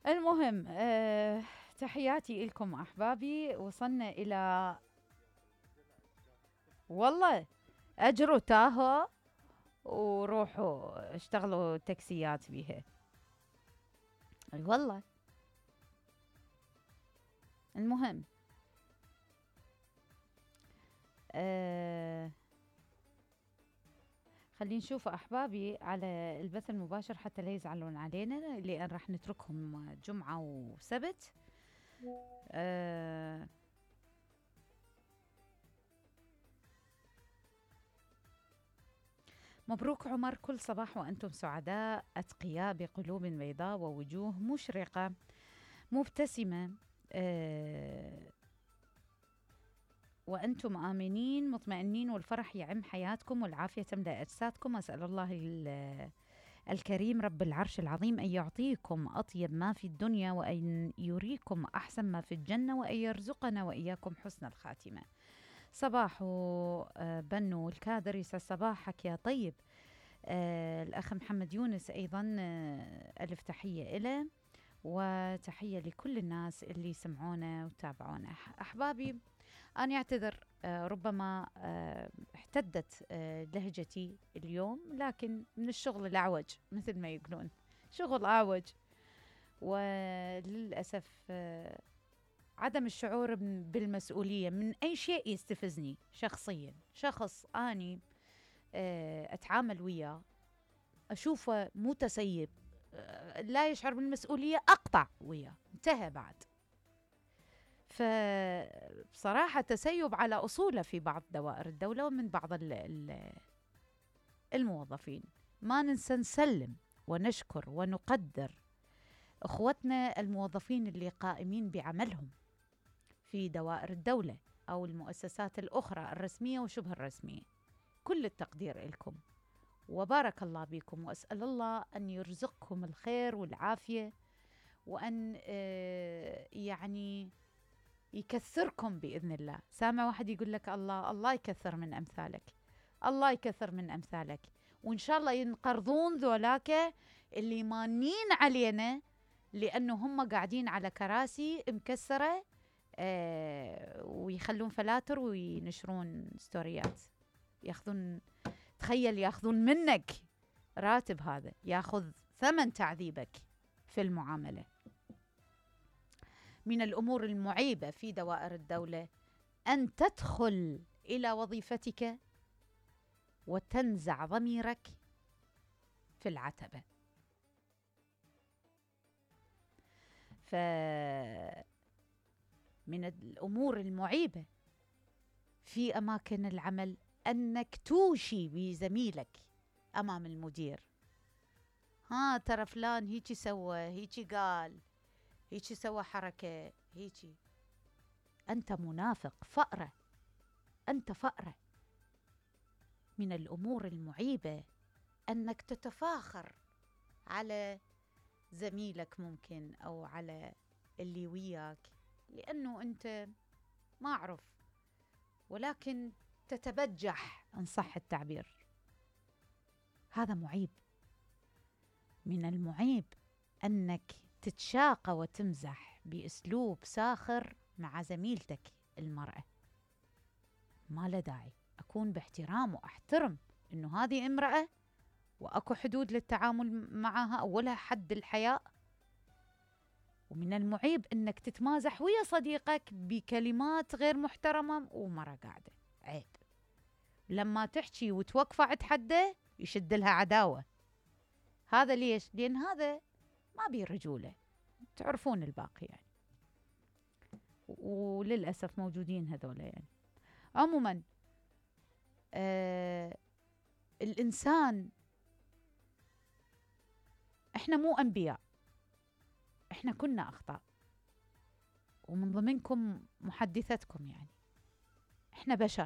المهم تحياتي لكم أحبابي. وصلنا إلى والله أجروا تاهو وروحوا اشتغلوا تاكسيات بيها. اي والله. المهم خلينا نشوف أحبابي على البث المباشر حتى لا يزعلون علينا، لأن راح نتركهم جمعة وسبت. مبروك عمر، كل صباح وأنتم سعداء أتقياء بقلوب بيضاء ووجوه مشرقة مبتسمة، وأنتم آمنين مطمئنين، والفرح يعم حياتكم والعافية تملأ أجسادكم. أسأل الله الكريم رب العرش العظيم أن يعطيكم أطيب ما في الدنيا، وأن يريكم أحسن ما في الجنة، وأن يرزقنا وإياكم حسن الخاتمة. صباح بنو الكادر، يسعد صباحك يا طيب. الأخ محمد يونس أيضا ألف تحية إله، وتحية لكل الناس اللي يسمعونا وتابعونا. أحبابي أنا أعتذر، ربما احتدت لهجتي اليوم، لكن من الشغل الأعوج مثل ما يقولون، شغل أعوج. وللأسف عدم الشعور بالمسؤولية من أي شيء يستفزني شخصيا. شخص أني أتعامل وياه أشوفه متسيب، لا يشعر بالمسؤولية، أقطع وياه، انتهى بعد. فبصراحة تسيب على أصوله في بعض دوائر الدولة ومن بعض الموظفين. ما ننسى نسلم ونشكر ونقدر أخوتنا الموظفين اللي قائمين بعملهم في دوائر الدولة أو المؤسسات الأخرى الرسمية وشبه الرسمية. كل التقدير لكم وبارك الله بكم، وأسأل الله أن يرزقكم الخير والعافية، وأن يعني يكثركم بإذن الله. سامع واحد يقول لك الله يكثر من أمثالك، الله يكثر من أمثالك، وإن شاء الله ينقرضون ذولاك اللي مانين علينا، لأنه هم قاعدين على كراسي مكسرة ويخلون فلاتر وينشرون ستوريات، ياخذون، تخيل ياخذون منك راتب، هذا ياخذ ثمن تعذيبك في المعاملة. من الأمور المعيبة في دوائر الدولة أن تدخل إلى وظيفتك وتنزع ضميرك في العتبة. من الأمور المعيبة في أماكن العمل أنك توشي بزميلك أمام المدير، ها ترى فلان هيجي سوى، هيجي قال، هيجي سوى حركة، هيجي. أنت منافق، فأرة، أنت فأرة. من الأمور المعيبة أنك تتفاخر على زميلك ممكن أو على اللي وياك، لأنه أنت ما أعرف، ولكن تتبجح إن صح التعبير. هذا معيب. من المعيب أنك تتشاقى وتمزح بأسلوب ساخر مع زميلتك المرأة. ما له داعي. أكون باحترام وأحترم إنه هذه امرأة وأكو حدود للتعامل معها، أولها حد الحياء. ومن المعيب إنك تتمازح ويا صديقك بكلمات غير محترمة ومرة قاعدة، عيب. لما تحكي وتوقف عند حده يشد لها عداوة. هذا ليش؟ لأن هذا ما بيه رجولة، تعرفون الباقي يعني، وللأسف موجودين هذولا يعني. عموما الإنسان، إحنا مو أنبياء، إحنا كنا أخطاء، ومن ضمنكم محدثتكم يعني، إحنا بشر